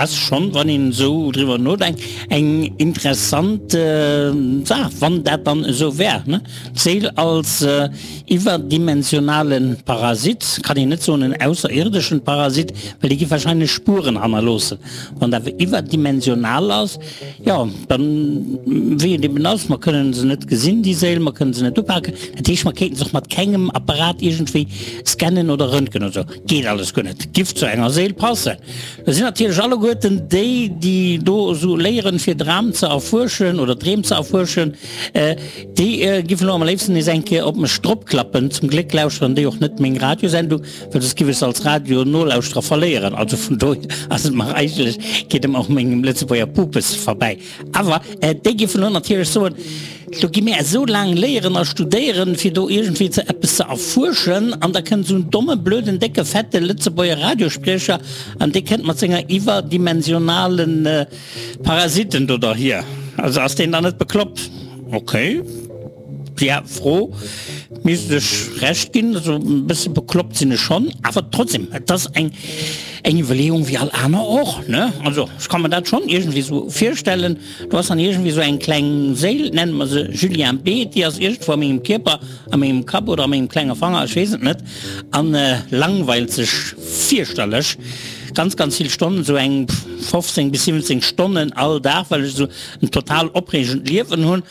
Ass schonn, wann een esou driwwer nodenkt, eng interessant Saach, wann dat dann esou wär, ne? D'Séil als iwwerdimensionale Parasit, kann een net soen en ausserierdeschen Parasit, well dee giff wahrscheinlech Spueren hannerloossen. Wann et awer iwwerdimensional ass, jo, dann, wéi et eben ass, mer kënnen se net gesinn, déi Séil, mer kënnen se net upaken, dat heescht, mer kéinten se och mat kengem Apparat iergendwéi scannen oder röntgen oder esou. Geet alles guer net. Giff zu enger Séil passen. Da sinn natierlech alleguerten déi, déi do esou léieren, fir Dram ze erfuerschen oder Dreem ze erfuerschen, déi giffen elo am léifsten nees eng Kéier op mech dropklappen. Zum Gléck lauschteren déi och net meng Radiosendung, well soss giff ech se als Radio-Nolauschterer verléieren. Also vun dohier ass et mer eigentlech, geet et mer och mengem Lëtzebuerger Pupes verbäi. Awer déi géifen elo natierlech soen, Do gi mir esou laang léieren a studéieren, fir do iergendwéi ze eppes ze erfuerschen, an da kënnt esou en domme, blöden, décke, fette Lëtzebuerger Radiospriecher an dee kënnt mat senger iwwerdimensionale Parasiten do derhier. Also ass deen dann net bekloppt? Okay. Där Fro misst ech Recht ginn. Also e bësse bekloppt sinn ech schonn, awer trotzdem, et ass eng eng Iwwerleeung wéi all aner och, ne? Also ech ka mer dat schonn iergendwéi esou virstellen. Do ass dann iergendwéi esou eng kleng Séil, nenne mer se Julien B., déi ass iergendwou a mengem Kierper, a mengem Kapp oder a mengem klenge Fanger, ech weess et net, a langweilt sech fierchterlech ganz, ganz vill Stonnen, esou eng 15 bis 17 Stonnen all Dag, well ech esou en total opreegend Liewen hunn.